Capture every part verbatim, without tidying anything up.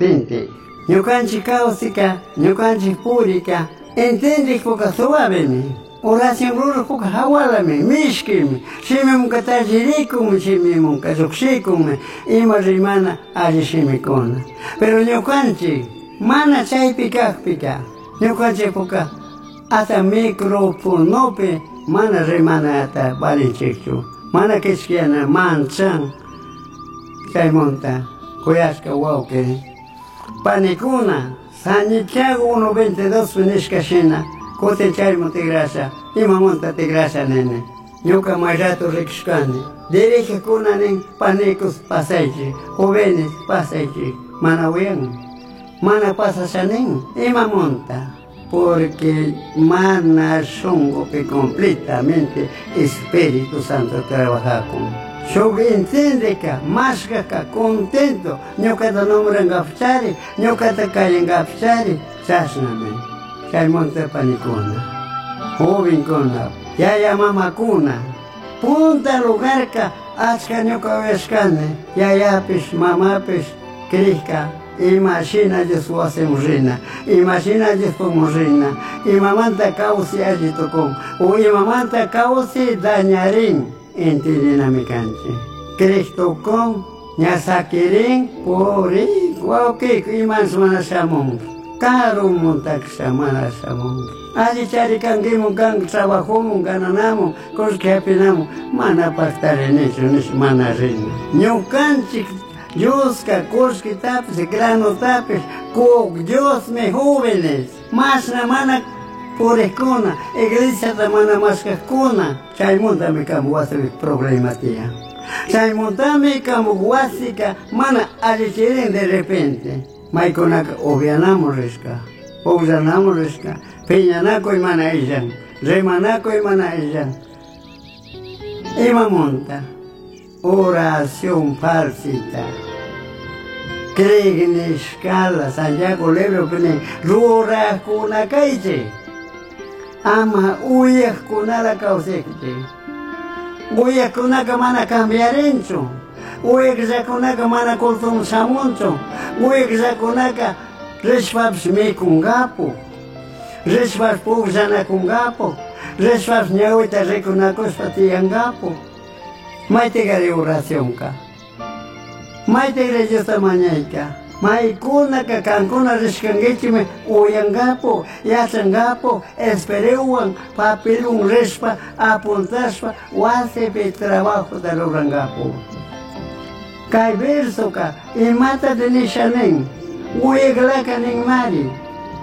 Potente. Ñukanchik kawsika, ñukanchik purika, entendikpuka suavemi. Oración rurajpuka hawalami, mishkimi, shimimunka tallirikunmi, shimimunka llukshikunmi, ima rimana alli shimikuna. Pero ñukanchik mana chaypi kakpika, ñukanchikpuka hasta microfonopi mana rimanata valinchikchu, mana kishkiyana manchan chaymunta kuyashka wawqi panikuna Santiago uno veintidós nishka shina kutin chayman tigrasha imamanta tigrasha nini ñuka may rato rikushkani dirigekuna nin panicos pasaychik jóvenes pasaychik mana uyan mana pasasha nin imamunta porque mana shunkupi completamente Espíritu Santo trabajakun. Shuk entendeka, mashkaka, contento, ñukata nombrankapchari, ñukata kayankapchari, chashnami. Chaymunta panikuna, jovenkuna, yaya mamakuna, punta lugarka achka ñuka uyashkani, yayapish, mamapish, crishka, imashina Dios wasimun rina, imashina Diospukmun rina, imamanta kawsay alli tukun, o imamanta kawsay dañarin, entendinami kanchik. Crij tukun, ña sakirin, purin, wawqiyku imanshi mana shamunki, karumuntakisha mana shamunki. Alli charikankimun kan trabajomun gananamun, kullki hapinamun, mana paktarinichu nish mana rina. Ñukanchik Dioska kullkitapish, granutapish kuk Diosmi jóvenes, mashna mana purikkuna, iglesiata mana mashkakuna, chaymuntami kan wasipi problema tiyan. Chaymuntami kan wasika mana allichirin de repente. Maykunaka upianamun rishka, pukllanamun rishka, piñanakuy mana illan, rimanakuy mana illan. Imamunta oración falsita. Crig nishkala Santiago libropi nin rurajkuna kaychik, ama uyajkunala kawsaychik. Uyajkunaka mana cambiarinchu, uyajllakunaka mana cultoman shamunchu, uyajllakunaka rishpapish mikungapu, rishpapish pukllanakungapu, rishpapish ñawita rikunakushpa tiyangapu. Maytikari oracionka, maytikari Diosta mañayka, maykunaka kankuna rishkankichikmi uyangapu, yachangapu, esperewan, papelwan rishpa, apuntashpa, wasipi trabajota rurangapu. Kay versoka imata nisha nin, uyaklaka ninmari,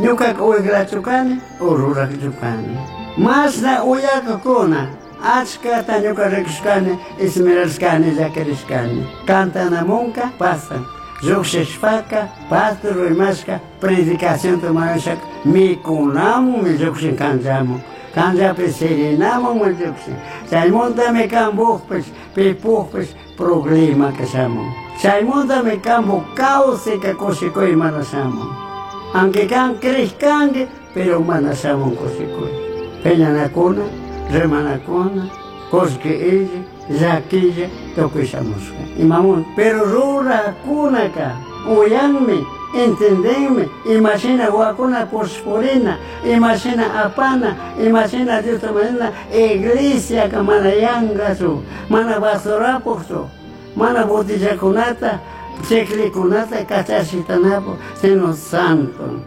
ñukaka uyaklachu kani o rurakchu kani. Mashna uyakakuna, achkata ñuka rikushkani, esmerashkani, llakirishkani. Cantanamunka pasan, llukshishpaka, pastor rimashka, predicacionta mañashaka, mikunamunmi llukshin kanchamun, kanchapi sirinamunmi llukshin. Chaymuntami kambukpish, pipukpish problemaka shamun. Chaymuntami kambuk kawsayka kushikuy mana shamun. Aunque kan crishkanki, pero mana shamun kushikuy. Piñanakuna, rimanakuna, kullki illa, llakilla, tukuy shamushka. Imamun, pero rurakunaka uyanmi, entendenmi, imashina wakuna pushpurina, imashina apana, imashina Diosta mañana, iglesiaka mana yankachu, mana basurapukchu, mana botillakunata, chiklikunata kachashitanapu, sino santo.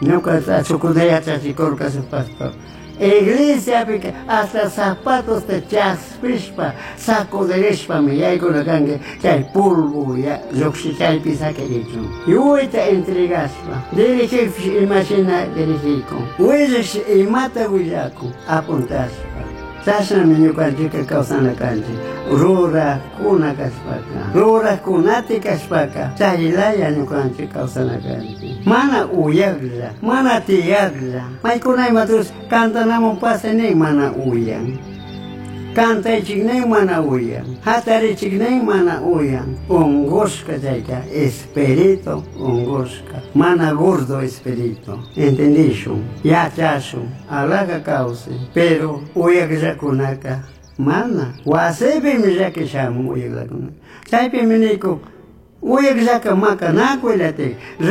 Ñuka chukuna yachachikurka su pastor. Iglesiapika hasta zapatos te chaspishpa, sacudirishpami yaykuna kanki chay polvo ya lluqshi chaypi sakirichun. Yuyta entregashpa, dirigikpish imashina dirigikun, willash imata willakun, apuntashpa. Chashnami ñukanchikka kawsana kanchik, rurakuna kashpaka, rurakunati kashpaka, chaylaya ñukanchik kawsana kanchik. Mana uyaklla, mana tiyaklla, maykuna imatus cantanamun pasay mana uyan. Cantaychik nin mana uyan, hatarichik nin mana uyan. Ungushka chayka, espíritu ungushka, mana gordo espíritu. Entendishun, yachashun, alaka kawsay, pero uyakllakunaka mana. Wasipimi llakishamun uyakllakunaka. Chaypimi nikun, uyakllaka makanakuy latik.